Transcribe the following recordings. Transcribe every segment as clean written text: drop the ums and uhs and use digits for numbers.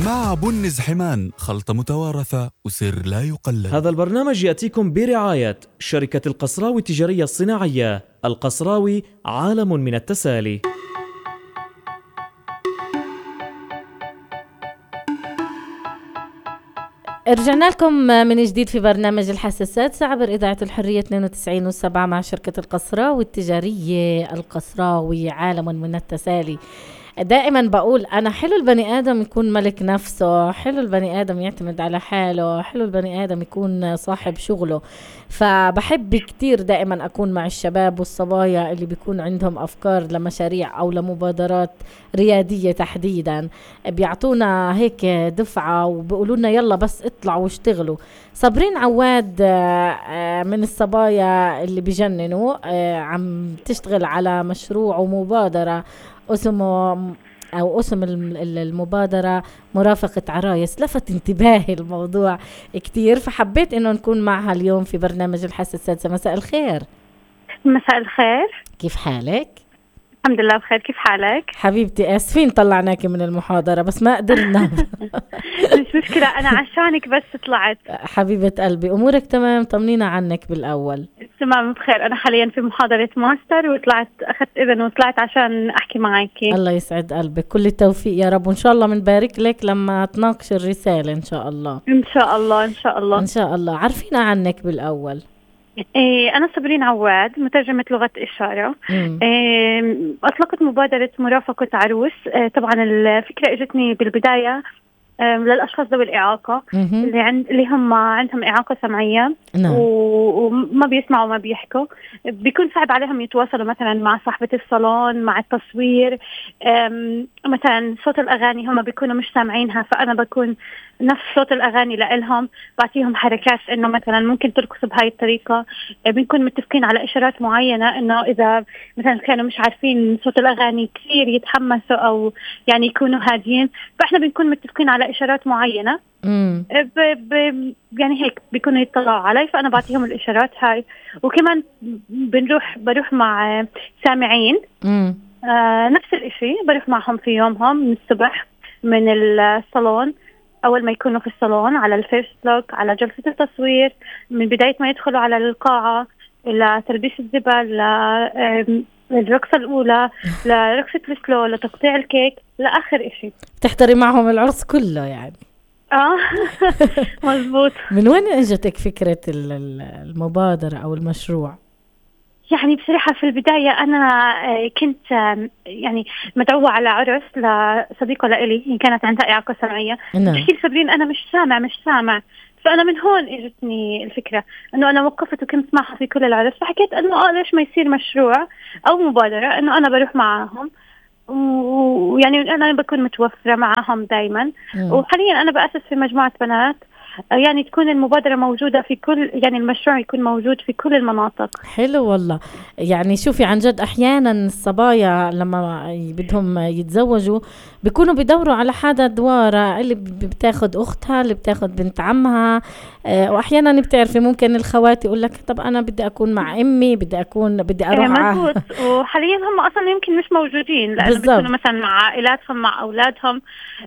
مع بنز حمان، خلطة متوارثة وسر لا يقلد. هذا البرنامج يأتيكم برعاية شركة القصراوي التجارية الصناعية. القصراوي، عالم من التسالي. رجعنا لكم من جديد في برنامج الحساسات عبر إذاعة الحرية 92.7 مع شركة القصراوي التجارية. القصراوي، عالم من التسالي. دائما بقول أنا حلو البني آدم يكون ملك نفسه، حلو البني آدم يعتمد على حاله، حلو البني آدم يكون صاحب شغله. فبحب كتير دائما أكون مع الشباب والصبايا اللي بيكون عندهم أفكار لمشاريع أو لمبادرات ريادية تحديدا، بيعطونا هيك دفعة وبيقولونا يلا بس اطلعوا واشتغلوا. صابرين عواد من الصبايا اللي بيجننوا، عم تشتغل على مشروع ومبادرة اسمه أو اسم المبادرة مرافقة عرايس. لفت انتباهي الموضوع كتير، فحبيت إنه نكون معها اليوم في برنامج الحساسات. مساء الخير. مساء الخير، كيف حالك؟ الحمد لله بخير. كيف حالك حبيبتي؟ آسفين طلعناكي من المحاضرة بس ما قدرنا. مش مشكلة، أنا عشانك بس طلعت. حبيبة قلبي، أمورك تمام؟ طمنينا عنك بالأول. تمام بخير، أنا حاليا في محاضرة ماستر وطلعت أخذت إذن وطلعت عشان أحكي معاكي. الله يسعد قلبك، كل التوفيق يا رب، وإن شاء الله منبارك لك لما تناقش الرسالة إن شاء الله. إن شاء الله إن شاء الله إن شاء الله. عرفينا عنك بالأول. أنا صابرين عواد، مترجمة لغة إشارة. أطلقت مبادرة مرافقة عروس. طبعا الفكرة إجتني بالبداية للأشخاص ذوي الإعاقة اللي هم عندهم إعاقة سمعية. نعم. وما بيسمعوا وما بيحكوا، بيكون صعب عليهم يتواصلوا مثلا مع صاحبة الصالون، مع التصوير. مثلا صوت الأغاني هم بيكونوا مش سامعينها، فأنا بكون نفس صوت الأغاني لإلهم، بعطيهم حركات إنه مثلا ممكن ترقصوا بهاي الطريقة. بنكون متفقين على إشارات معينة، إنه إذا مثلا كانوا مش عارفين صوت الأغاني كثير يتحمسوا أو يعني يكونوا هادين، فإحنا بنكون متفقين على إشارات معينة. يعني هيك بيكونوا يطلعوا علي، فأنا بعطيهم الإشارات هاي. وكمان بروح مع سامعين نفس الإشي، بروح معهم في يومهم من الصبح من الصالون، أول ما يكونوا في الصالون على الفيرست لوك، على جلسة التصوير، من بداية ما يدخلوا على القاعة إلى تلبيس الزبل، الرقصة الأولى، لرقصة السلو، لتقطيع الكيك، لآخر إشي. تحضري معهم العرس كله يعني؟ مزبوط. من وين اجتك فكرة المبادرة أو المشروع؟ يعني بصراحة في البداية أنا كنت يعني مدعوة على عرس لصديقة لإلي كانت عندها إعاقة سمعية. بحكي لي صابرين أنا مش سامع. فأنا من هون اجتني الفكرة إنه أنا وقفت وكنت معها في كل العرس، فحكيت إنه ليش ما يصير مشروع أو مبادرة إنه أنا بروح معهم، ويعني أنا بكون متوفرة معهم دايما. وحاليا أنا بأسس في مجموعة بنات، يعني تكون المبادرة موجودة في كل، يعني المشروع يكون موجود في كل المناطق. حلو والله. يعني شوفي عن جد أحيانا الصبايا لما بدهم يتزوجوا بيكونوا بيدوروا على حدا دوارة، اللي بتاخد أختها، اللي بتاخد بنت عمها. وأحيانا بتعرفي ممكن الخواتي يقول لك طب أنا بدي أكون مع أمي، بدي أروح مزبوط. وحاليا هم أصلا يمكن مش موجودين، لأنه بيكونوا مثلا مع عائلاتهم، مع أولادهم،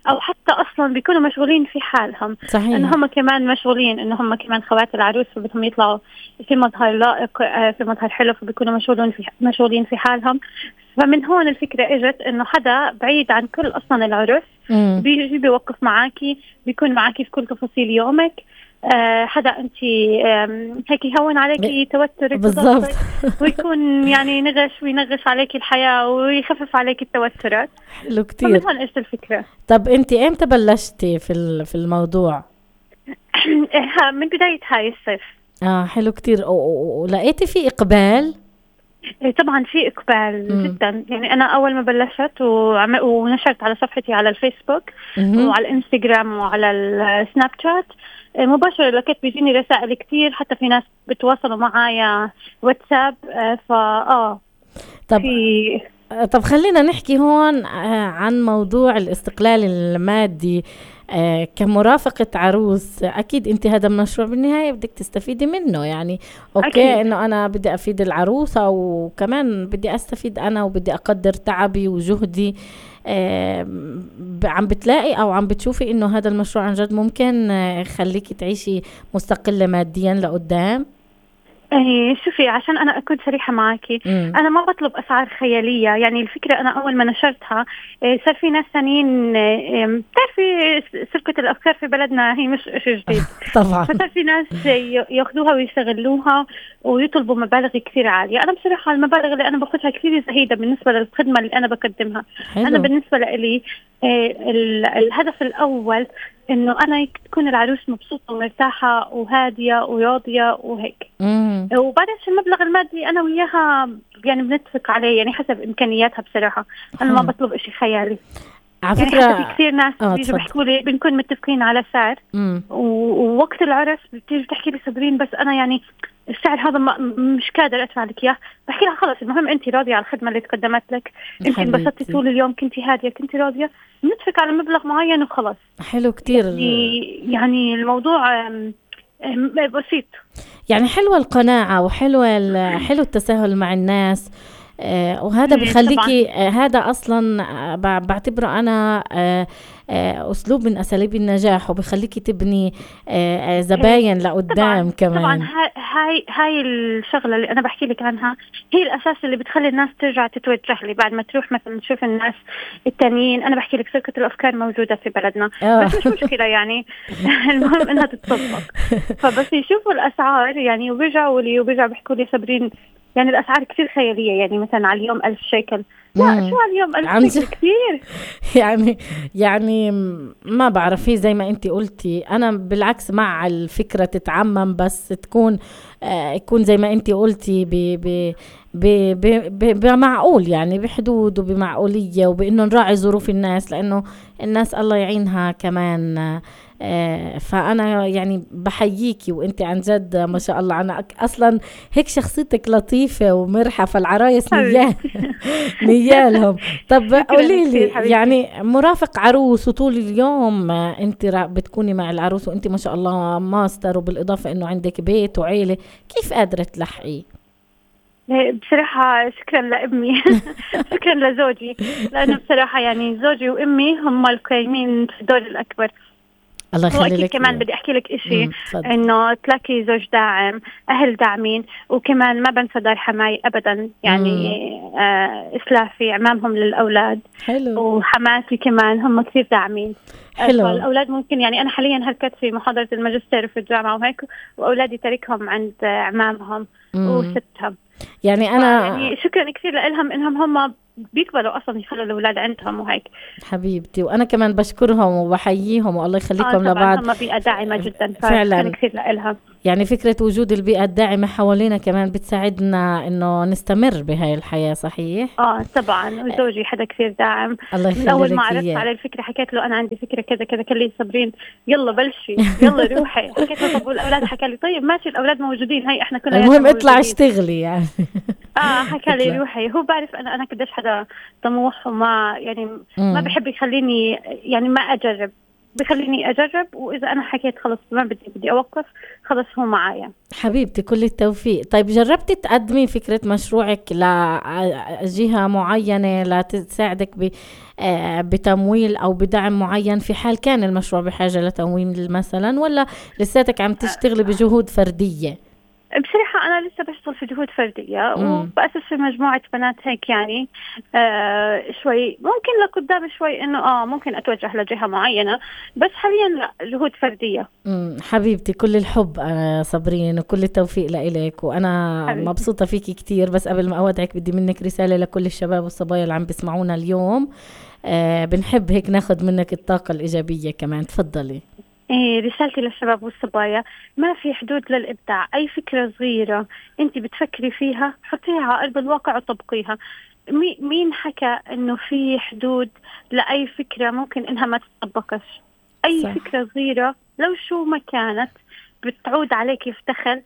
أو حتى أصلا بيكونوا مشغولين في حالهم. صحيح. إن هم كمان مشغولين، إن هم كمان خوات العروس، فبدهم يطلعوا في مظهر لائق، في مظهر حلو، فبيكونوا مشغولين في حالهم. فمن هون الفكرة اجت انه حدا بعيد عن كل اصلا العرس بيجي بيوقف معاكي، بيكون معاكي في كل تفاصيل يومك. حدا انت هيك يهون عليكي توترك بالضبط، ويكون يعني ينغش عليكي الحياة ويخفف عليكي التوترات. حلو كتير. فمن هون اجت الفكرة. طب انت امتى بلشتي في الموضوع؟ من بداية هاي الصيف. حلو كتير. ولقيتي في اقبال؟ طبعا في إقبال جدا. يعني أنا أول ما بلشت ونشرت على صفحتي على الفيسبوك وعلى الإنستغرام وعلى السناب شات مباشرة، لقيت بيجيني رسائل كتير، حتى في ناس بتواصلوا معايا واتساب. طب خلينا نحكي هون عن موضوع الاستقلال المادي. كمرافقة عروس أكيد أنت هذا المشروع بالنهاية بدك تستفيدي منه، يعني أوكي أكيد. إنه أنا بدي أفيد العروسة وكمان بدي أستفيد أنا وبدي أقدر تعبي وجهدي. عم بتلاقي أو عم بتشوفي إنه هذا المشروع عن جد ممكن يخليكي تعيشي مستقلة ماديا لقدام؟ شوفي، عشان أنا أكون صريحة معاكي، أنا ما بطلب أسعار خيالية. يعني الفكرة أنا أول ما نشرتها صار في ناس ثانيين، بتعرفي سرقة الأفكار في بلدنا هي مش شيء جديد. طبعا. فصار في ناس ياخذوها ويستغلوها ويطلبوا مبالغ كثير عالية. أنا بصراحة المبالغ اللي أنا باخذها كثير زهيدة بالنسبة للخدمة اللي أنا بقدمها. حلو. أنا بالنسبة لي الهدف الأول إنه أنا تكون العروس مبسوطة ومرتاحة وهادية وراضية وهيك. وبعدين المبلغ المادي أنا وياها يعني بنتفق عليه، يعني حسب إمكانياتها. بصراحة أنا ما بطلب إشي خيالي. على يعني فكرة حتى في كثير ناس بيجوا بيحكوا لي بنكون متفقين على سعر، ووقت العرس بتيجي بتحكي لي صابرين بس أنا يعني السعر هذا مش قادر أدفع لك إياه. بحكي لها خلص، المهم أنت راضية على الخدمة اللي تقدمت لك، أنت انبسطتي طول اليوم، كنتي هادية، كنتي راضية، نتفق على مبلغ معين وخلاص. حلو كتير. يعني الموضوع بسيط. يعني حلوة القناعة وحلو التساهل مع الناس. وهذا بخليكي هذا أصلا بعتبره أنا أسلوب من أساليب النجاح، وبخليكي تبني زباين لقدام كمان. طبعا هاي الشغلة اللي أنا بحكي لك عنها هي الأساس اللي بتخلي الناس ترجع تتوجه لي بعد ما تروح مثلا تشوف الناس التانيين. أنا بحكي لك سرقة الأفكار موجودة في بلدنا بس مش مشكلة يعني المهم إنها تتطبق. فبس يشوفوا الأسعار يعني وبيرجعوا بيحكوا لي صابرين يعني الأسعار كثير خيالية، يعني مثلا على اليوم 1000 شيكل. لا شو على اليوم 1000 شيكل كثير. يعني ما بعرف، هي زي ما انتي قلتي، أنا بالعكس مع الفكرة تتعمم، بس تكون يكون زي ما انتي قلتي بمعقول، يعني بحدود وبمعقولية، وبإنه نراعي ظروف الناس، لأنه الناس الله يعينها كمان. فأنا يعني بحييكي، وانت عن جد ما شاء الله. أنا أصلا هيك شخصيتك لطيفة ومرحة، فالعرايس نيالهم. طب قوليلي، يعني مرافق عروس وطول اليوم انت بتكوني مع العروس، وانت ما شاء الله ماستر، وبالإضافة انه عندك بيت وعيلة، كيف قادرة تلحقي؟ بصراحة شكرا لأمي شكرا لزوجي، لأنه بصراحة يعني زوجي وأمي هم القايمين في الدور الأكبر. الله يخلي لك. كمان بدي أحكي لك إشي، إنه تلاقي زوج داعم، أهل داعمين، وكمان ما بنسى دار حماي أبدا، يعني إسلافي عمامهم للأولاد. حلو. وحماتي كمان هم كثير داعمين. حلو. الأولاد ممكن يعني أنا حاليا هلكت في محاضرة الماجستير في الجامعة وهيك، وأولادي تركهم عند عمامهم وستهم. يعني أنا يعني شكرا كثير لهم إنهم هم بيقبلوا أصلا يخلوا الأولاد عندهم وهيك. حبيبتي، وأنا كمان بشكرهم وبحييهم، والله يخليكم لبعض. هم بيئة داعمة جدا فعلا كثير لهم. يعني فكرة وجود البيئة الداعمة حوالينا كمان بتساعدنا إنه نستمر بهاي الحياة. صحيح. طبعا. وزوجي حدا كثير داعم. الله من أول ما عرفت على الفكرة حكيت له أنا عندي فكرة كذا كذا، قال لي صابرين يلا بلشي يلا روحي. حكيت له طب والأولاد؟ حكى لي طيب ماشي الأولاد موجودين، هاي إحنا كنا المهم اطلع اشتغلي يعني. حكى لي روحي. هو بعرف أنا قديش حدا طموح، وما يعني ما بحب يخليني يعني ما أجرب، بخليني أجرب، وإذا أنا حكيت خلص ما بدي أوقف، خلص هو معايا. حبيبتي كل التوفيق. طيب جربتي تقدمي فكرة مشروعك لجهة معينة لتساعدك بتمويل أو بدعم معين في حال كان المشروع بحاجة لتمويل مثلا، ولا لساتك عم تشتغلي بجهود فردية؟ بصراحة أنا لسه بشتغل في جهود فردية وبأسس في مجموعة بنات هيك يعني شوي ممكن لقدام شوي إنه ممكن أتوجه لجهة معينة، بس حاليا لا، جهود فردية. حبيبتي كل الحب صابرين، وكل التوفيق لإلك، وأنا حبيبتي مبسوطة فيكي كتير. بس قبل ما أودعك بدي منك رسالة لكل الشباب والصبايا اللي عم بيسمعونا اليوم. بنحب هيك ناخد منك الطاقة الإيجابية كمان. تفضلي. رسالتي للشباب والصبايا، ما في حدود للإبداع. أي فكرة صغيرة أنت بتفكري فيها حطيها على أرض الواقع وطبقيها. مين حكى إنه في حدود لأي فكرة ممكن إنها ما تطبقش؟ أي صح. فكرة صغيرة لو شو ما كانت بتعود عليك في دخل،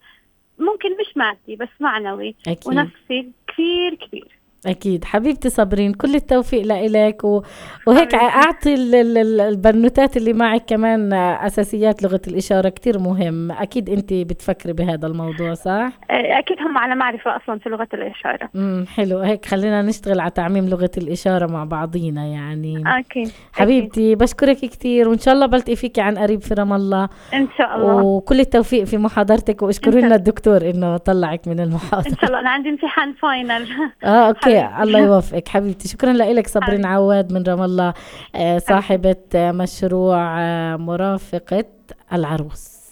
ممكن مش مادي بس معنوي أكيد. ونفسي كثير كبير. أكيد حبيبتي صابرين، كل التوفيق لإلك وهيك أعطي البنوتات اللي معك كمان أساسيات لغة الإشارة، كتير مهم. أكيد أنت بتفكري بهذا الموضوع صح؟ أكيد هم على معرفة أصلا في لغة الإشارة. حلو، هيك خلينا نشتغل على تعميم لغة الإشارة مع بعضينا يعني. أكيد حبيبتي أكيد. بشكرك كتير، وإن شاء الله بلتقي فيكي عن قريب في رام الله إن شاء الله، وكل التوفيق في محاضرتك، واشكروا لنا الدكتور إنه طلعك من المحاضرة. إن شاء الله، أنا عندي امتحان فاينل. أوكي الله يوفقك حبيبتي. شكرا لك صابرين عواد من رام الله، صاحبة مشروع مرافقة العروس.